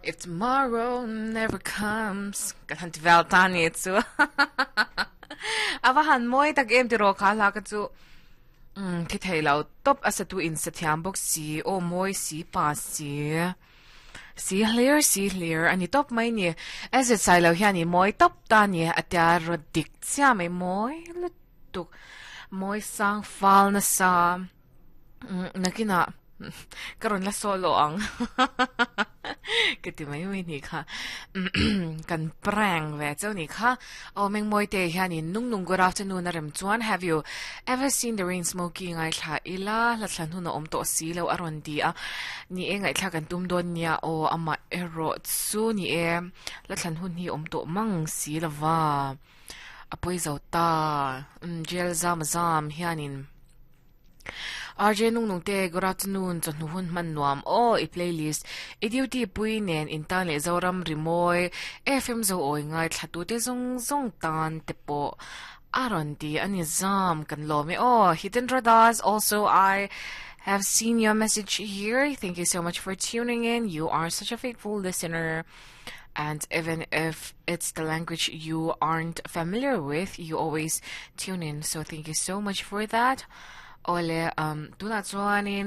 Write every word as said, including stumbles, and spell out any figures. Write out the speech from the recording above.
If tomorrow never comes kan han ti vel ta ni chu ava han moi tak em ti ro kha la ka chu um thi thei lo top asatu in sathiam bok si o moi si pa si si hlir si hlir ani top mai ni as it sai lo hian ni moi top ta ni atia ro dik chia mai moi lutuk moi sang fal na sa nakina karon la solo ang kati mai mai ni kha kan prank ve chau ni kha o meng moi te hian in nung nung good afternoon arem chuan have you ever seen the rain smoking ai thla ila la thlan hun a om to si lo aron ti a ni e ngai thla kan tum don nia o ama ero chu ni e la thlan hun hi om to mang si lova apoi zo ta jail zam zam hianin RJ nung nung te good afternoon chon nu hun man nuam o i playlist i duty pui nen in tan le zoram rimoi FM zo oi ngai thlatu te zong zong tan te po aron ti ani zam kan lo me o Hitendra Das also I have seen your message here thank you so much for tuning in you are such a faithful listener and even if it's the language you aren't familiar with you always tune in so thank you so much for that ole um tuna chuanin